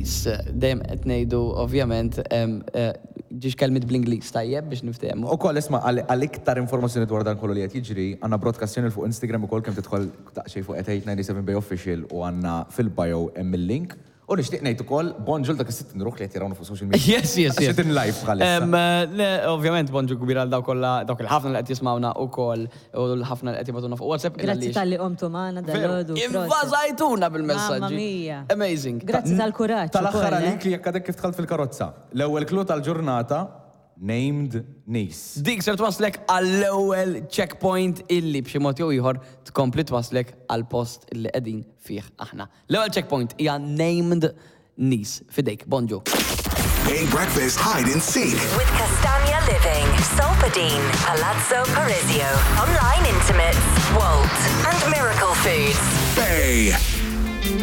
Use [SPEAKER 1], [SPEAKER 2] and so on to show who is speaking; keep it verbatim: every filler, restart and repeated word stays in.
[SPEAKER 1] Niece. Dejjem qed ngħidu ovvjament em, eh, żewġ kelmiet bl-Ingliż tajjeb biex niftehmu.
[SPEAKER 2] U koll, isma', għal għal iktar informazzjoni dwar dan kollu li qed jiġri, għandna broadcast channel fuq Instagram ukoll, kemm tidħol daqsxejn fuq eight eight nine seven Bay Official u għandna fil-bio hemm il-link. U nixtieq ngħid ukoll bonġu dak is-sittin ruħ li qed jarawna fuq social media.
[SPEAKER 1] Yes, yes, yes.
[SPEAKER 2] Għax live bħalissa.
[SPEAKER 1] Em, eh, le, ovvjament, bonġu kbir għal dawk kollha, dawk il-ħafna li qed jismawna ukoll u l-ħafna li qed jibagħtuna fuq WhatsApp.
[SPEAKER 3] Grazzi talli qomtu magħna dalgħodu.
[SPEAKER 1] Invażajtuna bil-messaġġi.
[SPEAKER 3] Mamma mia.
[SPEAKER 1] Amazing.
[SPEAKER 3] Grazzi tal-kuraġġ
[SPEAKER 2] Tal-aħħar
[SPEAKER 3] ukoll, eh.
[SPEAKER 2] għalik li jekk għadek kif dħalt fil-karozza. L-ewwel clue tal-ġurnata, named niece.
[SPEAKER 1] Dik ser twaslek għall-ewwel checkpoint illi b'xi mod jew ieħor tkompli twaslek għal post illi qegħdin fih aħna. L-ewwel checkpoint hija named niece. Fidejk, bonġu.
[SPEAKER 4] Bay Breakfast Hide and Seek.
[SPEAKER 5] With Castagna Living, Solpadeine, Palazzo Parisio, Online Intimates, Wolt, and Miracle Foods.
[SPEAKER 4] Bay.